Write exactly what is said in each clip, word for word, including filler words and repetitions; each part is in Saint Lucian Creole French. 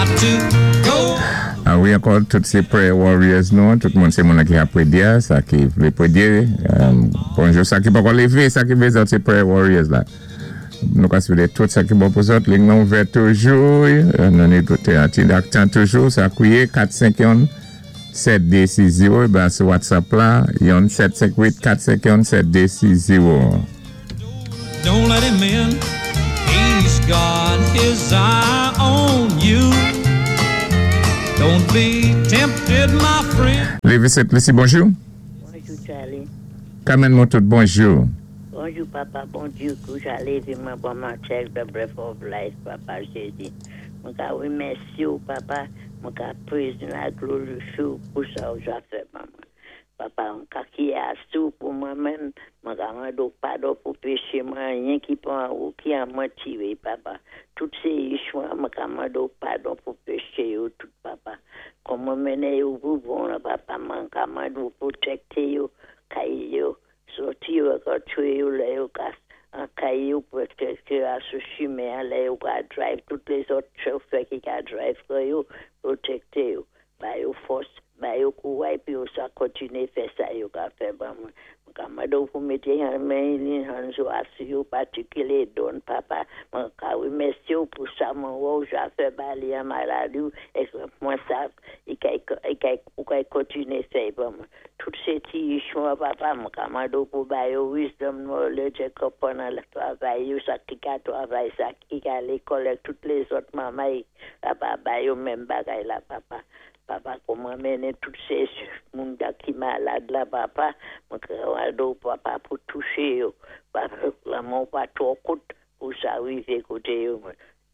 Got to go. A wi, ankò tout sé prayer warriors nou, tout moun sé moun ki ap pwédyé, sa ki vlé pwédyé. Bonjou, sa ki pa lévé, sa ki vlé zòt sé prayer warriors la. Nou ka swété tout sa ki bon pou zòt, liy nan ouvè toujou, nou ni tout ti tan toujou, sa kwié kat senk youn sèt dé sis zéwo, ba sou WhatsApp la, youn sèt senk uit kat senk youn sèt dé sis zéwo. Don't let him in. He's got his eye on you. Don't be tempted, my friend. Lévi Sent Lisi, bonjou. Bonjou, Charlie. Carmen Montout, bonjou. Bonjou, papa. Bonjou, kou ja lévé mwen bon matin, the breath of life, papa Jézi. Mwen ka wimèsi ou, papa. Mwen ka praise la glorifye ou pou sa ou ja fè, maman. Papa, mwen ka kiyé asou pou mwen menm. Mwen ka mandé ou padon pou péché mwen, anyen ki pa ou ki an mwen tiré, papa. Tout sé ichwa, mwen ka mandé ou padon pou péché yo, tout, papa. Kon mwen mennen yo pou bon, la, papa, mwen ka mandé ou pwotékté yo, kay yo, sòti yo, antré yo, lè yo ka an kay yo, pwotékté yo a sou chimen, lè yo ka drive, tout lézòt chofè ki ka drive kon yo, pwotékté yo. Ba yo fòs, ba yo kouway, pi yo sa kontiné fè sa yo ka fè ban mwen. Mwen ka mandé ou pou mété an men ni an zo asou yo, patikilé don, papa. Mwen ka wimèsi ou pou sa mwen wè ou ja fè ba li an maladi ou, é mwen sav, i kay, i kay, ou kay kontiné fè ban mwen. Tout sé ti ichwa, papa, mwen ka mandé ou pou ba yo wisdom, knowledge, konpwann le travay yo, sa ki ka travay, sa ki ka lékòl, tout lézòt manmay, papa, ba yo menm bagay la, papa. Papa, kouman mennen tout sé moun da ki malad la, papa, mwen ka mandé ou, papa, pou touché yo. Papa, lanmen pa twò kout pou sa rivé koté yo.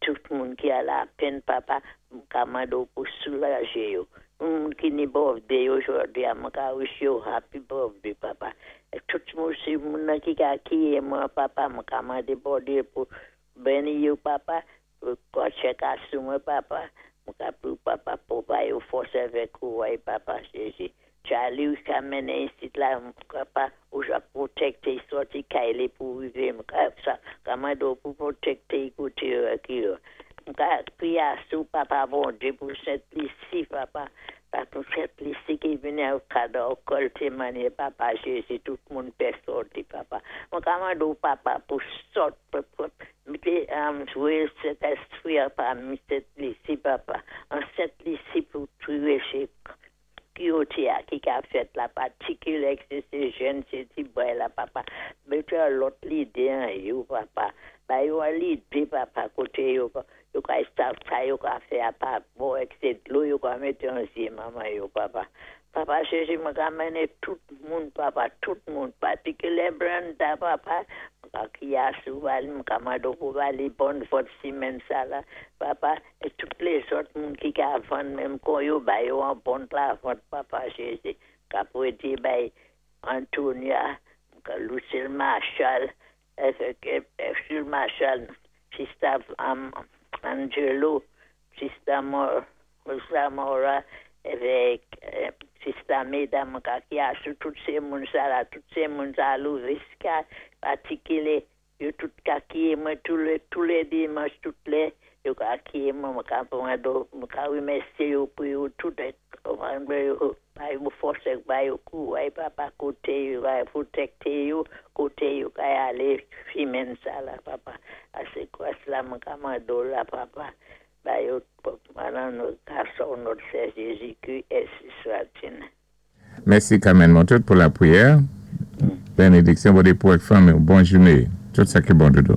Tout moun ki a la penn, papa, mwen ka mandé ou pou soulajé yo. Moun ki ni birthday jòdi a, mwen ka wish yo happy birthday, papa. É tout moun sé moun nan ki ka kiyé mwen, papa, mwen ka mandé Bondyé pou béni yo, papa, pou kon chèk asou mwen, papa. Mwen ka pou papa pou ba yo fòs avèk kouway, papa Jézi. Charlie ou ka mennen isit la, papa, ou ja pwotékté sòti kay li pou rivé, mwen ka sa, ka mandé ou pou pwotékté koté yo ki yo. Mwen ka priyé asou, papa Bondyé, pou Sent Lisi, papa. Pa pou Sent Lisi ki vini au kado kòlté manyè, papa Jézi, tout moun pè sòti, papa. Mwen ka mandé ou, papa, pou sòt, pou, pou, mété, um, jwé Sentespwi a pami Sent Lisi, papa. An Sent Lisi pou touwé sé ki a ki ka fèt la, patikilé sé sé jèn, sé ti boy la, papa. Mété an lòt lidé an yo, papa. Ba yo an lidé, papa, koté yo, yo ka sav sa yo ka fè a pa bon, ek sé dlo yo ka mété an zyé manman yo, papa. Papa Jézi, mwen ka mennen tout moun, papa, tout moun, patikilé Brenda, papa. Mwen ka kiyé asou ba li, mwen ka mandé ou pou ba li bon vòt simenn sa la, papa. É tout lézòt moun ki ka vann menm kon yo, ba yo an bon lavant, papa Jézi. Ka pwédyé bay Antonia, ka Lucille Marshall, Lucille Marshall, Sister um, Angelo, Sister Mor, Sister Mora, avèk euh, Sister Meda, mwen ka kiyé asou tout sé moun sa la, tout sé moun sa Louviska, patikilé, yo tout ka kiyé mwen tou lé, tou lé dimanch, tout lé, yo ka kiyé mwen, mwen ka mande ou, mwen ka wimèsyé yo pou yo tout, mwen yo, ba yo fòs ba yo kouway, papa, koté yo, ka pwotékté yo, koté yo ka alé simenn sa la, papa. Asé gwas la mwen ka mandé ou la, papa. Ba yo, manan nou ka au nom de Jésus-Christ, ainsi soit-il. Mèsi Carmen Montout pou lapriyè. Bénédiksyon pou pou fanmi. Bòn jounen. Tout sa ki bon doudou.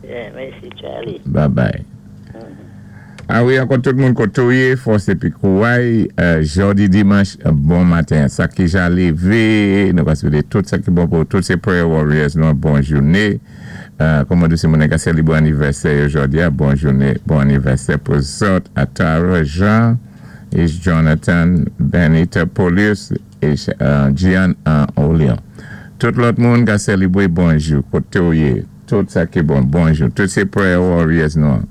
Yeah, mèsi Charlie. Bye bye. A wi, ankò tout moun koté ou yé, fòs épi kouway, euh, jòdi dimanch, bon maten. Sa ki ja lévé, nou ka swété tout sa ki bon pou tout sé prayer warriors nou, bòn jounen. Euh, kòman di sé moun ka sélébwé anivèsè jòdi a, bòn jounen, bon anivèsè pou zòt, Atara Jean, et Jonathan Benita Polius et euh, Gian uh, Olion. Tout lòt moun ka sélébwé bonjou, koté ou yé, tout sa ki bon, bonjou. Tout sé prayer warriors nou.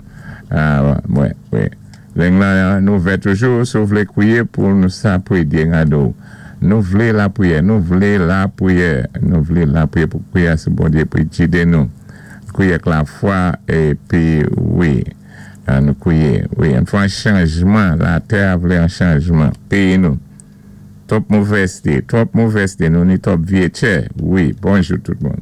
Ah, wè, wè. Liy la nou ouvè toujou, si ou vlé kwiyé pou nou sa pwédyé gado. Nou vlé lapriyè, nou vlé lapriyè, nou vlé lapriyè pou kwiyé sou Bondyé pou gidé nou. Kwiyé ak lafwa épi wi. An nou kwiyé. Wi, an fò an chanjman. Latè a vlé an chanjman. Péyi nou. Twòp movèzté, twòp movèzté. Nou ni twòp vyé tchè. Wi, bonjou tout moun.